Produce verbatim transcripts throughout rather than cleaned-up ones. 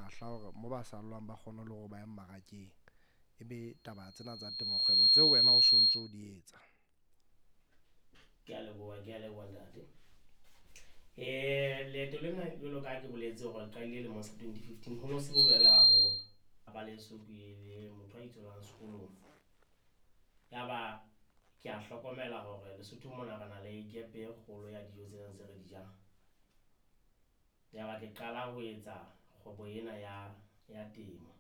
Malahla hore mo ba sallwang ba kgone le hore ba ye mmarakeng. E be taba tsena tsa temo kgwebo tseo wena o sontso o di etsa. Ke a leboha, ke a leboha ntate. Eh leeto lena jwalo ka ha ke boletse hore re qadile lemong sa twenty fifteen, ho no se bobebe haholo. Ba leso ke le motho a itsholang sekolong. Ya ba ke a hlokomela hore Lesotho mona re na le gap e kgolo ya dijo tsena tse re di jang. Ya ba ke qala ho etsa kgwebo ena ya ya temo,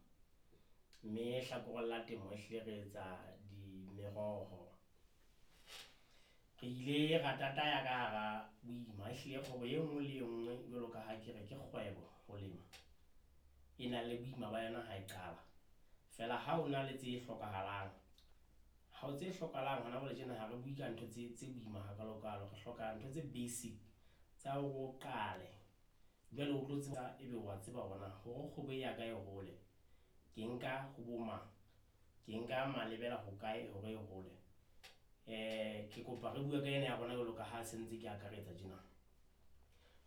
mme hlakoreng la temo ehlile re etsa di meroho. Re ile ra tataya ka hara boima ehlile kgwebo e nngwe le e nngwe jwalo ka ha ke re ke kgwebo ho lema, e na le boima ba yona ha e qala. Feela ha o na le tse hlokahalang, ha o tse hlokahalang hona jwale tjena ha re bue ka ntho tse tse boima hakalokalo, re hloka ntho tse basic tsa hore o qale. Jwale o tlo tseba ebe wa tseba hore na hore kgwebo e ya ka e hole, ke nka ho bo mang, ke nka malebela hokae hore e hole. Ke kopa re bue ka ena ya rona jwalo ka ha se ntse ke akaretsa tjena.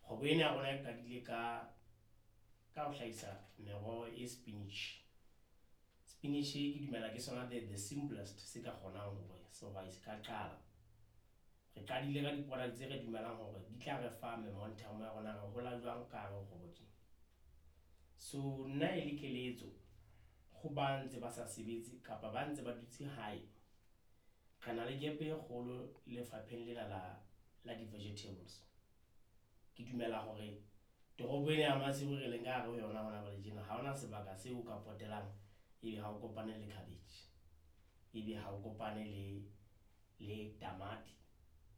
Kgwebo ena ya rona e qadile ka, ka ho hlahisa meroho e spinach. Spinach ke dumela ke sona the, the simplest se ka kgonang hore sehwai se ka qala. Re qadile ka di-product tse re dumelang hore di tla re fa momentum ya rona re hola jwang ka hare ho kgwebo tjena. So nna e le keletso ho ba ntse ba sa sebetse kapa ba ntse ba dutse hae, re na le gap e kgolo lefapheng lena la, la di-vegetables. Ke dumela hore toropo ena ya Maseru re leng ka hare ho yona hona jwale tjena, ha hona sebaka seo o ka potelang ebe ha o kopane le cabbage, ebe ha o kopane le, le tamati,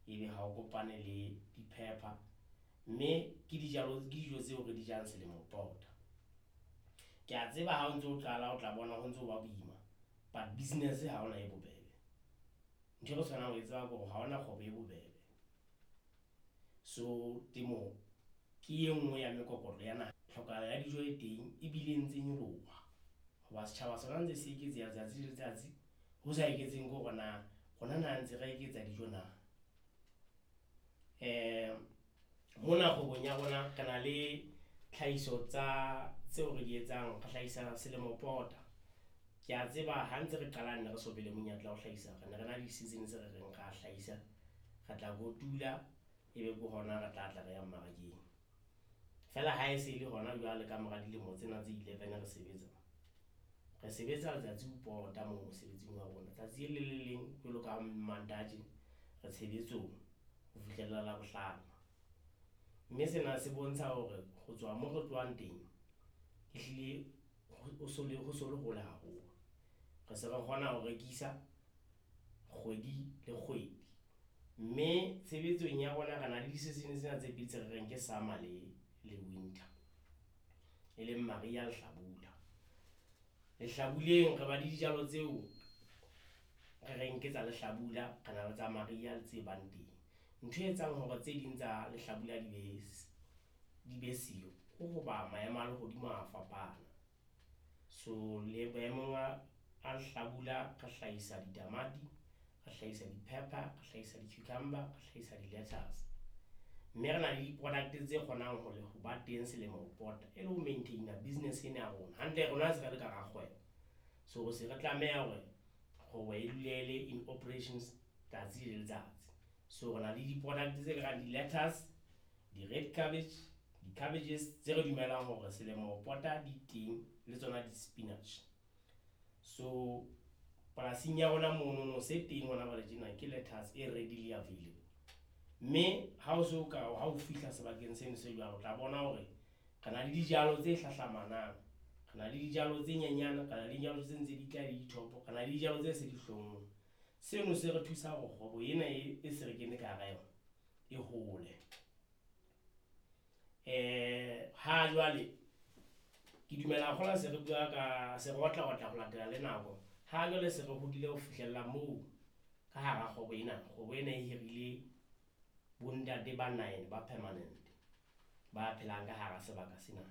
ebe ha o kopane le di-pepper, mme ke dijalo, ke dijo tseo re di jang selemo pota. Ke a tseba ha o ntso o qala o tla bona ho ntso ba boima, but business ha hona e bobebe. Ntho e re tshwanang ho e tseba ke hore ha hona kgwebo e bobebe. So temo ke e nngwe ya mekokotlo ya naha. Tlhokahalo ya dijo e teng ebile e ntse nyoloha hoba setjhaba sona ntse se eketseha letsatsi le letsatsi. Ho sa eketseng ke hore na rona na ntse re eketsa dijo na. Mona kgwebong ya rona re na le tlhahiso tsa tseo re di etsang, re hlahisa selemo pota. Ke a tseba ha ntse re qala ne re so be le monyetla wa ho hlahisa, re ne re na le di-season tse re reng ra hlahisa, re tla kotula ebe ke hona re tla tla re ya mmarakeng. Feela ha e se e le hona jwale ka mora dilemo tsena tse eleven re sebetsa, re sebetsa letsatsi ho pota moo mosebetsing wa rona. Tsatsi le le leng jwalo ka Mantaha tjena re tshebetsong ho fihlella Labohlano. Mme sena se bontsha hore ho tswa mo re tlohang teng, ehlile ho so le, ho so le hole haholo. Re se re kgona ho rekisa kgwedi le kgwedi, mme tshebetsong ya rona re na le di-season tsena tse pedi tse re reng ke summer le, le winter, e leng mariha le hlabula. Lehlabuleng re ba le dijalo tseo re reng ke tsa lehlabula, re na le tsa mariha le tse bang teng. Ntho e etsang hore tse ding tsa lehlabula di be di be siyo ke hoba maemo a lehodimo a fapana. So le boemong a, a lehlabula re hlahisa ditamati, re hlahisa di-pepper, re hlahisa di-cucumber, re hlahisa di-lettuce. Mme re na le di-product tse kgonang hore ho ba teng selemo ho pota e le ho maintain-a business ena ya rona. Hantle rona se re le ka hara kgwebo, so se re tlameha hore kgwebo e dule e le in operations tsatsi le letsatsi. So re na le di-product tse karang di-lettuce, di-red cabbage, di-cabbages tse re dumelang hore selemo ho pota di teng le tsona di-spinach. So polasing ya rona monono se teng hona jwale tjena ke lettuce e readily available. Mme ha o so ka ha o fihla sebakeng seno se jwalo, o tla bona hore re na le dijalo tse hlahlamanang, re na le dijalo tse nyenyane, re na le dijalo tse ntse di tla le dithopo, re na le dijalo tse se di hlonngwe. Seno se re thusa hore kgwebo ena e, e se re kene ka hara yona e hole. Ha jwale ke dumela kgola se re bua ka se re otla otla ho latela le nako. Ha jwale se re hodile ho fihlella moo ka hara kgwebo ena, kgwebo ena e hirile bontate ba nine ba permanent ba phelang ka hara sebaka sena.